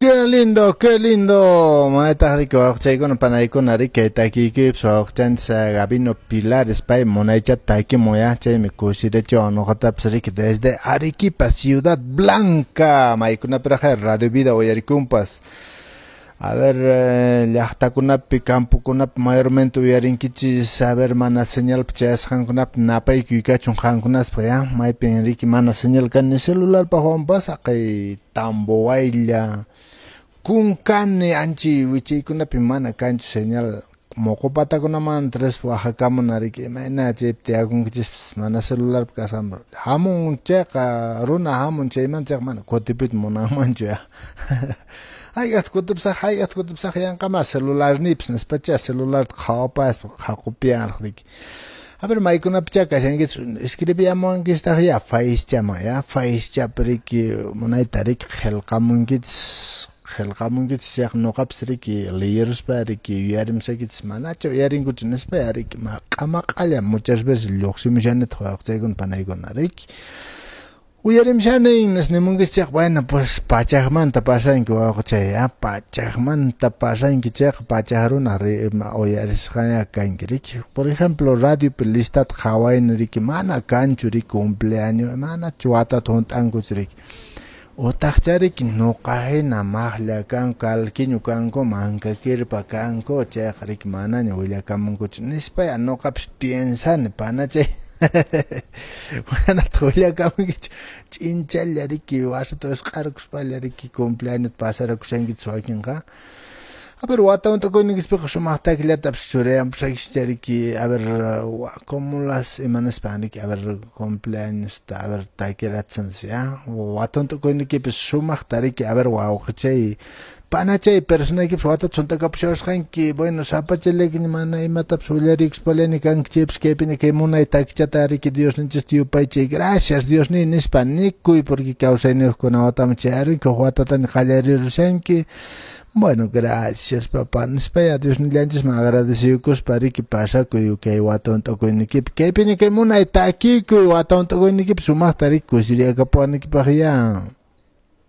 Qué lindo, qué lindo. Munaytaq riki wawqichaykuna panaykuna riki kay takiykuypas wawqichanchis Gabino Pilares pay munaychata takimun ya chaymi kusirichiwan nuqatapas riki desde Arequipa Ciudad Blanca maykunapiraq Radio Vida uyarikunpas. A ver, llaqtakunapi, campokunapi mayormente uyarinkichis, a ver, mana señalpi chayasqankunapi napaykuy kachun qankunaspaq ya, maypin riki mana señal kan ni celularpaqwanpas haqay Tamboaylla, Kunkani anchi wichaykunapi mana kanchu señal moqo patakunamanta rispa wajakamuna riki imayna chaypi tiyakunkichispas mana celularpi kasqanpi hamun chayqa runa hamun chaymanta chayqa mana kutipuyta munanmanchu ya. Hayk'aqta kutipusaq, hayk'aqta kutipusaq yanqamá celularniypas nispacha celularta qhawapaspa qhaqupiyanraq riki. A ver, maykunapichá kashankichis escribiyamuwankichistaq ya Facechaman ya Facechapi riki munayta riki qillqamunkichis qillqamunkichis chayqa nuqapas riki liyiruspa riki yuyarimusaykichis manachu uyarinkuchu nispa ya riki maq'a maq'alla muchas veces lluqsimushanitaq wawqichaykuna panaykuna riki. Uyarimushani nimunkichis chayqa bueno pues pachakmanta pasanki wawqichay ya pachakmanta pasanki chayqa pachak runa uyarisqaña kanki riki. Por ejemplo radiopi listata qhawayni riki mana kanchu riki cumpleaños manachu watata hunt'ankuchu riki. Utaqcha riki nuqa hina maqlla kanku kalkiñu kanku mankakirpa kanku chayqa riki manaña willakamunkuchu nispa ya nuqapis piensani panachay. Manataq willakamunkichu ch'inchalla riki wasita wisq'arkuspalla riki cumpleaños pasarakushankichis wakinqa. A ver, wata hunt'akuyninkispiqa sumaq takillatapas churayanpusaykichis riki, a ver, como las ima nispan riki, a ver, cumpleañosta, a ver, takirachinchis ya. Wata hunt'akuyniykipis sumaqta riki, a ver, wawqichay, panachay personaykipas watata hunt'akapushawasqanki, bueno, sapachallaykiña mana imatapas willariykuspallani kanki chaypas kaypiña kay munay takichata riki Diosninchista yupaychay, gracias Diosniy nispa nikuy porque kawsayniyuqkuna wataman chayarunki, huk watataña qallarirushanki. Bueno, gracias papá nispa ya Diosnillanchisman agradeciyukuspa riki pasakuy kay wata hunt'akuynikipi kaypiña kay munay takikuy wata hunt'akuynikipi sumaqta riki kusiriyakapuwanikipaq ya.